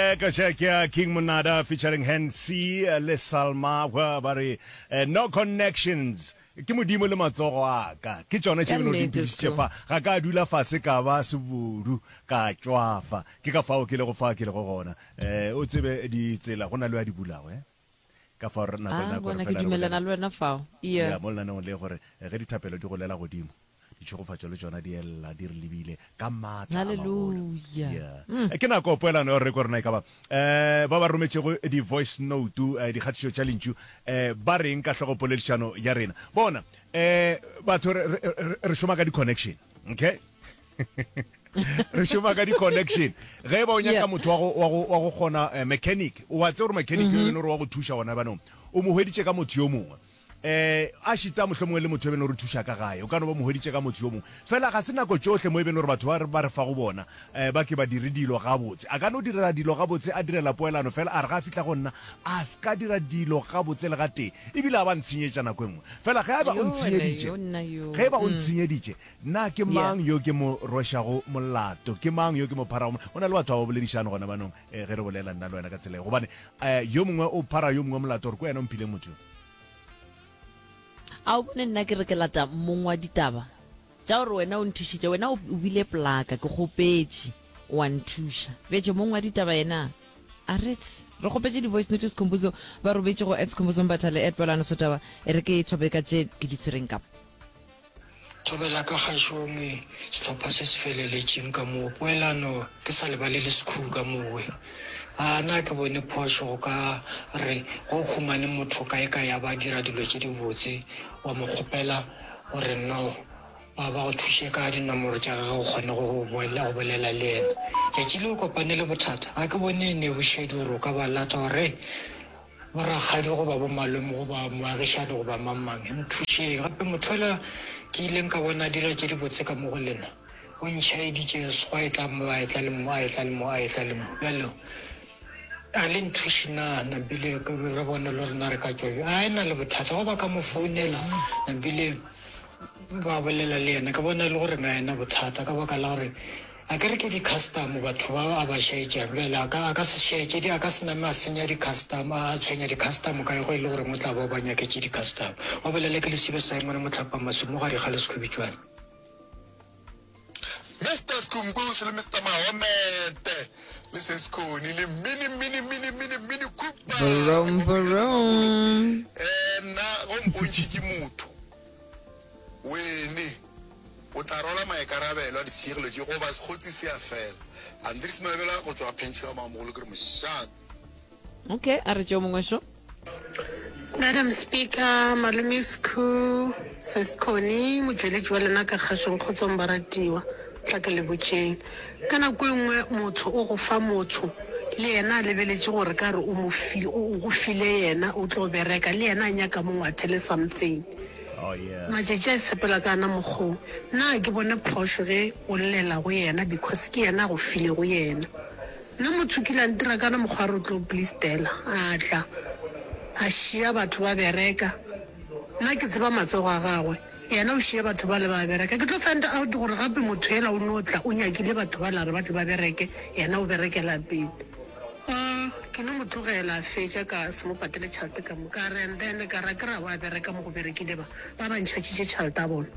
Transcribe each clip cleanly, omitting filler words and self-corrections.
Ka ke ya King Monada featuring Hansi le Salma ba re eh, no connections ke modimo le matsogo a ka ke tšona tše beno di ntišitše fa ga ka dula fase ka ba sebodu ka tšwafa ke ka fao ke lego fa ke lego gona eh o tsebe ditsela go na le a di bulago eh ka fao re nako le ah, nako re fela re dumelana le wena fao yeah mo lenaneong le gore eh, ge dithapelo di golela godimo Ditšhegofatšo le tšona di ella di re lebile ka maatla a magolo. Hallelujah. Yeah. Mm. Ke nako poelano ya gore re kwe rena e ka ba eh ba ba rometšego di-voice note eh, dikgatišo tša lentšu eh ba reng ka hlogopoledišano ya rena. Bona eh batho re, re, re, re šoma ka di-connection. Okay? re šoma ka di-connection ge e ba o nyaka motho wa go, wa go, wa go kgona eh, mechanic o a tseba gore mechanic yo e leng gore wa go thuša gona banong o mo hweditše ka motho yo mongwe Eh, a šita mohlomongwe le motho e beno re thuša ka gae, o ka no ba mo hweditše ka motho yo mongwe. Fela ga se nako tšohle mo e beno gore batho ba re ba re fago bona eh, ba ke ba dire dilo gabotse. A ka no direla dilo gabotse, a direla poelano, fela a re ga a fihla go nna, a se ka dira dilo gabotse le gatee, ebile a ba ntshenyetša nako e nngwe. Fela ge a ba o Yo wena ntshenyeditše, yo nna yo. ge e ba o Mm. ntshenyeditše, na ke Yeah. mang yo ke mo rwešago molato? Ke mang yo ke mo pharago molato? Go na le batho ba ba boledišane gona banong eh, ge re bolela nna le wena ka tsela ye, gobane eh, yo mongwe o phara yo mongwe molato gore ke wena o mphileng motho yo. A o bone nna ke re ke lata mong wa ditaba tša gore wena o nthušitše, wena o bile plaka, ke kgopetše wa nthuša. Bjetše mong wa ditaba yena a retse. Re kgopetše di-voice note Skhumbuzo ba robetše go at Skhumbuzo Mbatha le at Polano Sotaba. E re ke thope ka tše ke di tshwereng ka mo. Thobela ka kgašong sehlopha se se feleletšeng ka moo poelano ke sa lebalele Sekhu ka mowe. A na ke bone phošo go ka re ge o humane motho kae kae a ba dira dilo tše dibotse wa mo kgopela gore no ba ba go thuše ka dinomoro tša gagwe o kgone go go bolela le yena. Tšatši le o kopane le bothata ga ke bone e ne bošedi gore o ka ba lata wa re Borakgadi goba bomalome goba moagišani goba mang-mang, nthušeng. Gape motho yola ke ileng ka bona a dira tše dibotse ka mo go lena, o ntšhaeditše gwa etla mo, a etla le mo, a etla le mo, a etla le mo. Bjalo a le nthuše na? Napile re bone le gore na re ka tšwa bjang. A e na le bothata goba ka mo founela, napile ba bolela le yena. Ke bona e le gore ga e na bothata ka baka la gore A ke re ke di-custom batho ba a ba šaetšang bjale a ka a ka se šaetše di a ka se name a senya di-custom a tshwenya di-custom kae go e le gore o tla ba o ba nyaketše di-custom. Wa bolela ke Lesibe Simon Mohlapa Masumo gare ga Leskhubitšwane. Mister Skhumbuzo le Mister Mahomete le Seskhoni le Mini Mini Mini Mini Mini Cooper. Vroom vroom. Eh nna go mpontšhitše motho Wene o tla rwala maikarabelo a ditshenyegelo tše goba sekgotsi se a fela. Andries Mabela go tšwa Phentšhe ga Mamogolo ke re mošate. Okay, a re tšeo mongwe šo. Madam Speaker, Malome Skhu, Sis Connie, motšweletši wa lena ka kgašong, kgotsong baratiwa, tla ke le botšeng. Ka nako e nngwe motho o go fa motho le yena a lebeletše gore ka re o mo file, o go file yena o tlo bereka le yena a nyaka mo ngwathele something. Oh yeah. Matšatši a sepela ka ana mokgoo. Nna ga ke bone phošo ge o llela go yena because ke yena a go filego yena. Nna motho o kile a ntira ka ana mokgwa a re o tlo blistela a tla a šia batho ba bereka. Nna ke tseba matsogo a gagwe yena o šia batho bale ba bereka. Ke tlo find out gore gape motho yela o no tla o nyakile batho bale a re ba tle ba bereke yena o berekela pele. Umm ke no mo tlogela a fetša ka se mo patele tšhelete ka moka. A re and then ka re akere a wa bereka mo go berekile ba ba ba ntšhatšitše tšhelete ya bona.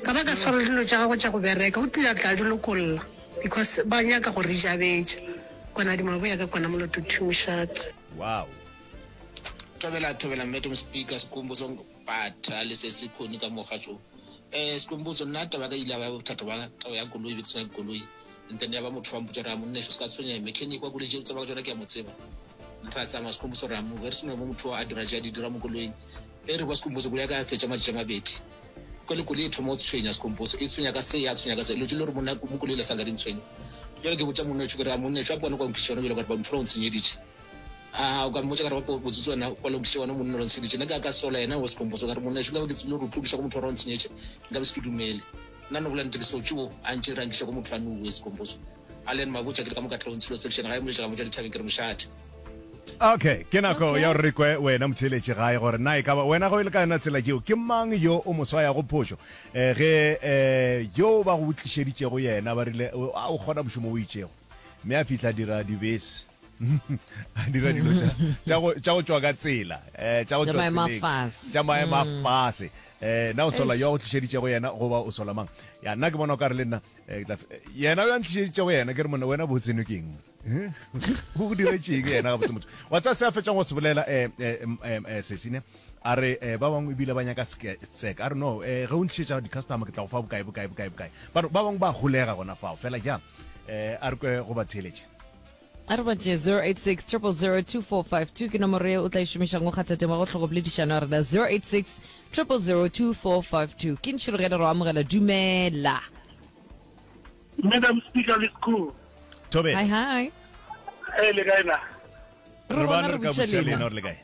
Ka ba ka swara le dilo tša gagwe tša go bereka o tlile a tla a di lokolla because ba nyaka go re jabetša. Kwana di maboya ka kwana moloto thumošate. Wow. Thobela thobela Madam Speaker Skhumbuzo Mpatha le se se khoni ka mo gašo. Eh Skhumbuzo nna taba ka ile ya ba bothata ba taba ya koloi be ke sena koloi and then ya ba motho wa mpotša gore a monna se ka tshwenyega mechanic wa koloi tše tseba ka tšona ke a mo tseba. Ra tsamaya Skhumbuzo ra mo re sena mo motho a dira tše a di dira mo koloing. E re kwa Skhumbuzo koloi ya ka ya fetša matšatši a mabedi. Kwa le koloi e thoma go tshwenya Skhumbuzo e tshwenya ka se ya tshwenya ka se dilo tše le gore monna mo koloi le sanka di ntshwenya. Bjale ke botša monna wešo ke re a monna wešo a kwane kwa nkhiša yona bjale ka gore ba motho o ntshenyeditše. A o ka mmotša ka re ba botsotsi wena kwa lokiše wena monna o ntshenyeditše nna ka ka sola yena o sekomposo ka re monna nka be ke tsebile gore o tlo go motho wa ntshenyetše nka be se ke dumele nna no bolela nnete ke sotše o a ntše re ankiša go motho wa nowe sekomposo a le ene mabotša ke le ka mo ka tlong tshilo section ga e moletša ka motša dithabeng ke re mošate. Okay, ke nako ya gore re kwe wena motheeletši gae gore na e ka ba wena ge o le ka yona tsela yeo ke mang yo o mo swayago phošo eh, ge eh, yo ba go tlišeditšego yena ba rile a o kgona mošomo o itšego. Mme a fihla a dira dibese. A dira dilo tša, tša go, tša go tšwa ka tsela, eh, tša go Tša tšwa maemo a tseleng, fase. tša maemo a fase. Eh, na o sola yo a go tlišeditšego yena goba o sola mang? Ya, nna ke bona o ka re le nna, eh, ke tla, yena yo a ntlišeditšego yena, ke re monna, wena botse no ke eng? O go diretše eng yena gabotse motho? Wa tseba se a fetšang go se bolela, eh, eh, eh, eh, Sesine? A re, eh, ba bangwe ebile ba nyaka seka. A re, no, eh, ge o ntlišetša di-customer ke tla go fa bokae, bokae, bokae, bokae. Ba re, ba bangwe ba holega gona fao. Fela ja, eh, a re kwe go ba theeletše. A re botše 086 000 2452 ke nomoro ye o tla e šomišang go kgatha tema go hlogopoledišano ya rena 086 000 2452. Ke ntšhirogele re o amogela. Dumela. Madam Speaker le School. Thobela. Hi hi. Eh le kae na? Re Re gona bana re re ka botša botša lena. lena gore le kae.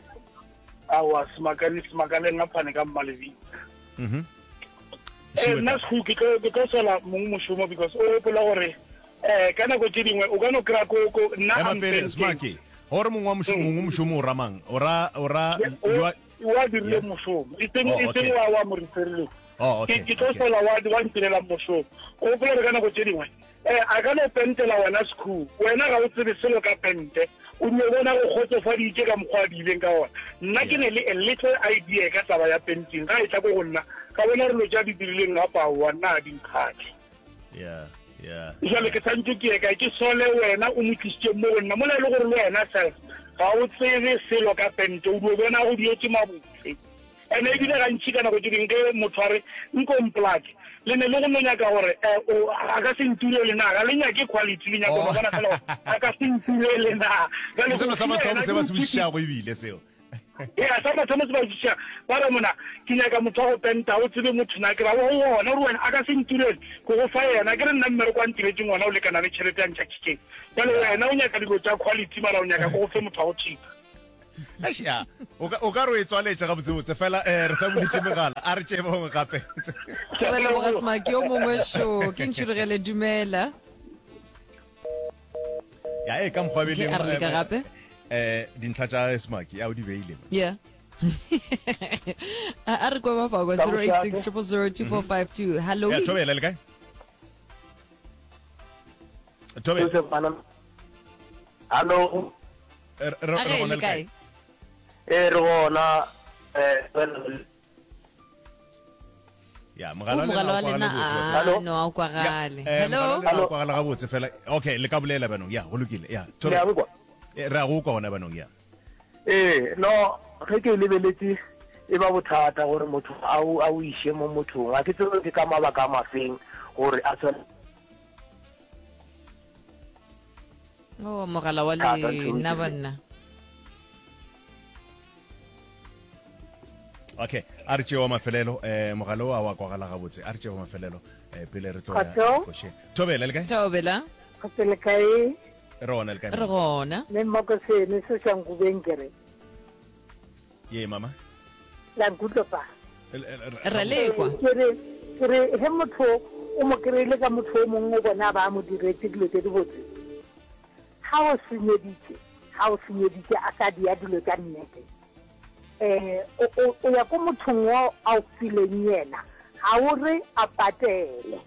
Awa semakane semakaleng a phane ka mmalebitsa. Mhm. Eh nna School ke tlo ke tlo sola mong mošomo because o gopola gore eh ka nako tše dingwe o ka no kry-a ko ko nna Ema I'm pele painting. Smaki. Gore mongwe wa mošomo mongwe mošomo o ra mang? O ra o ra Yeah, o you are wa dirile Yeah. mošomo e seng Oh, e seng okay. wa wa mo referileng. Oh, Ke okay. ke tlo Okay. sola wa wa ntirelang mošomo. O gopola gore ka nako tše dingwe eh a ka no pentela wena Skhoo wena ga o tsebe selo ka pente o dio bona go kgotsofaditše ka mokgwa a diileng ka ona nna ke ne le a little idea ka taba ya painting ga e tla ko go nna ka bona re lo tša di dirileng gape aowa nna a di nkgatlhe Yeah. Yeah. jale ke santse ke ye kae ke sole wena o mo tlisitšeng mo go nna mola e le gore le wena self ga o tsebe selo ka pente o dio bona go dietse mabotse Ene ebile gantši ka nako tše dingwe ge motho a re nko mplake, le ne le go no nyaka gore eh, o, a ka se nturele na, ga le nyake quality, le nyaka go no bona fela gore a ka se nturele na. Bjale Ke go selo sa file mathomo yena se ke ba se mo botšišago ebile seo. Ea, sa mathomo se ba botšiša, ba re mona, ke nyaka motho wa go penta, o tsebe motho na, ke ra wa go ona, gore wena a ka se nturele, ke go fa yena, ke re nna mmereko a ntiretšeng ona o lekana le tšhelete ya ntšatšitšeng. Bjale wena o nyaka dilo tša quality mara o nyaka ke go fe motho wa go cheaper. Eish, ya o ka o ka re o e tswaletše gabotsebotse fela um re sa buletše megala a re tšee bangwe gape Re leboga Smaki yo mongwe šo ke ntšhurugele dumela. ya e ka mokgwa Okay, beleng a re leka gape. um dintlha tša Smaki ya o di beile mo. Yeah. a a re kwa ba fagwa 086 000 2452. Hello. ya thobela le kae thobela Joseph Bana. Hallo. Re, re, A re ge gona le le kae? kae? Eh re gona eh Ya, O mogala wa mogala wa lena lena o kwagale botse. a Hallo? no a o kwagale. Eh, Hello. mogala wa lena o kwagala gabotse fela. Okay, le ka bolela banong. Ya, go lokile. Ya, Le thobela. a nkwa? Eh, Re a go kwa gona banong, ya. Eh no ge ke e lebeletše e ba bothata gore motho a o a o iše mo mothong a ke tsebe ke ka mabaka a mafeng gore a tshwane Oh, mogala wa Thata, ntho lena e banna. Okay, a re tšee wa mafelelo. Eh, mogala o a wa kwagala gabotse. A re tšee wa mafelelo eh, pele re tlo ya Kgotso. košeng. Thobela le kae? Thobela. Kgotso le kae? Re gona le kae? Re gona. Mme Mmakosene se sa nkubeng ke re. Ye mama. La nkutlwa pa? Re lekwa. Ke re ke re he motho o mo kry-ile ka motho o mongwe o bona ba mo diretse dilo tse dibotse. Ha o senyeditse, ha o senyeditse a sa dia dilo tsa nnete. Eh o o o ya ko mothong o a o fileng yena. Ha o re a patele.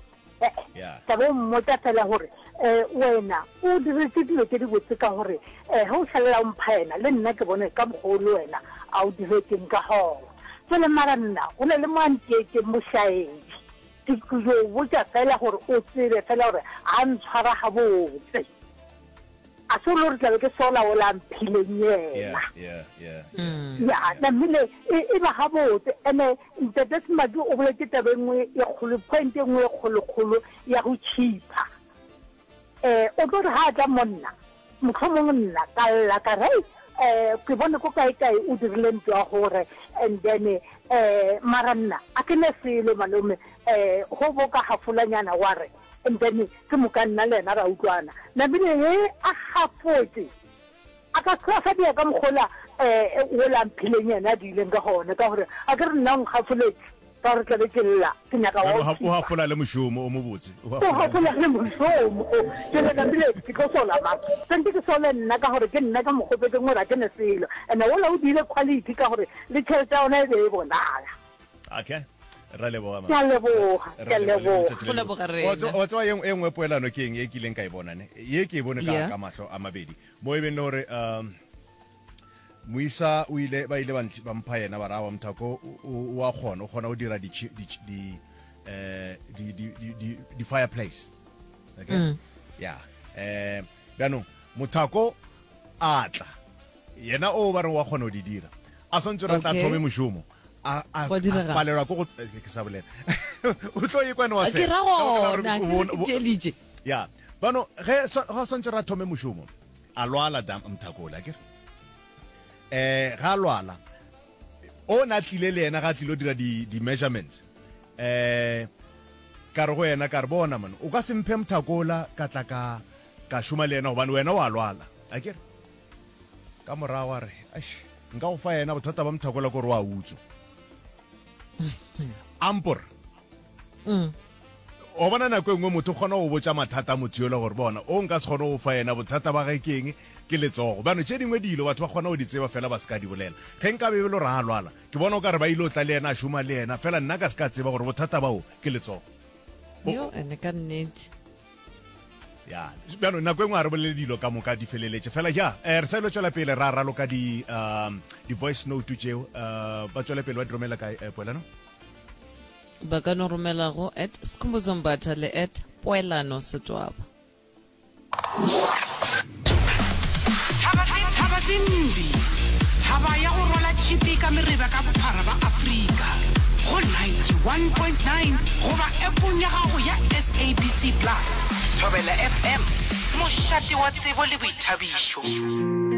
Yeah. Tla bo mmotsa fela gore um wena o diretše dilo tše dibotse ka gore um ge o šalela o mpha yena le nna ke bone ka mokgwa o le wena a o diretšeng ka gona. Jwale mara nna go na le mo a nteetšeng mošaedi. Ke tlo botša fela gore o tsebe fela gore ga ntshwara gabotse. A se o le gore tlabe ke sola ola a mphileng yena. Yeah, yeah, yeah. Ya, namile e, e ba gabotse. Ene Ntate Semaki o boletše taba e nngwe e kgolo, point e nngwe e kgolokgolo ya go cheaper. Eh, o tlo re ga a tla mo nna, mohlomong nna ka lla ka re, hei, eh, ke bone ko kae kae o dirile ntho ya gore, and then, eh, mara nna a ke ne selo malome, eh, go bo ka hafolanyana wa re, And then ke moka nna le yena ra utlwana. Namile he a gafotše, a ka se a sa dia ka mokgwa ola um wola a mphileng yena a diileng ka gona, ka gore a ke re nna o nkgafoletše ka gore tlabe ke lla ke nyaka wa O o o hafola le mošomo o mobotse. O O hafola le mošomo. Jwale namile ke tlo sola mang? Santse ke sole nna ka gore ke nna ke mo kgopetseng gore a ke ne selo. And-e wola o diile quality ka gore le tšhelete ya ona e be e bonala. Okay. Ra leboga, Ke a leboga, ke a leboga. Go leboga rena. Wa tseba ye nngwe poelano ke eng e kileng ka e bona ne? Ye ke e bone ka ka mahlo a mabedi. Mo e beng le gore um moisa o ile ba ile ba mpha yena ba ra wa Mthako o a kgona o kgona go dira di di eh di di di di fireplace. Okay? Mm. Yeah. Eh bjanong Mothako a tla yena o ba re wa kgona go di dira a swantse re tla thome mošomo a a palelwa ko go eh, ke sa bolela o tlo e kwane wa se ke ra gona ke tšelitše ya bano ge ga swantse ra thome mošomo a lwala dam mthakola ke eh ga lwala o na tlile le yena ga tlilo dira di di measurements eh ka re go yena ka re bona man o ka se mphe mthakola ka tla ka ka šoma le yena gobane wena wa lwala a ke re Ka morago a re, Eish, nka go fa yena, bothata ba Mthakola ke gore o a utswa. Ampor. Mm. O bona nako e nngwe motho o kgona go botša mathata a motho yola gore bona o nka se kgone go fa yena bothata ba ge ke eng ke letsogo. Bjano tše dingwe dilo batho ba kgona go di tseba fela ba se ka di bolela. Ge nka be e le gore a lwala, ke bona o ka re ba ile o tla le yena a šoma le yena fela nna ka se ka tseba gore bothata bao ke letsogo. Yo, ene ka nnete. Ya, bjalo nako e nngwe ga re bolele dilo ka moka di feleletše fela. Ya, eh, re sa ilo tšwela pele ra raloka di um, di-voice note tšeo. Uh, ba tšwele pele ba di romela kae, eh, Poelano? Ba ka no romela go at Skhumbuzo Mbatha le at Poelano Setwaba. Thaba Thaba Tsimbi, thaba ya go rwala tšhipi ka mereba ka bophara ba Afrika, go 91.9 goba appong ya gago ya SABC Plus. Thobela FM, mošate wa tsebo le boithabišo.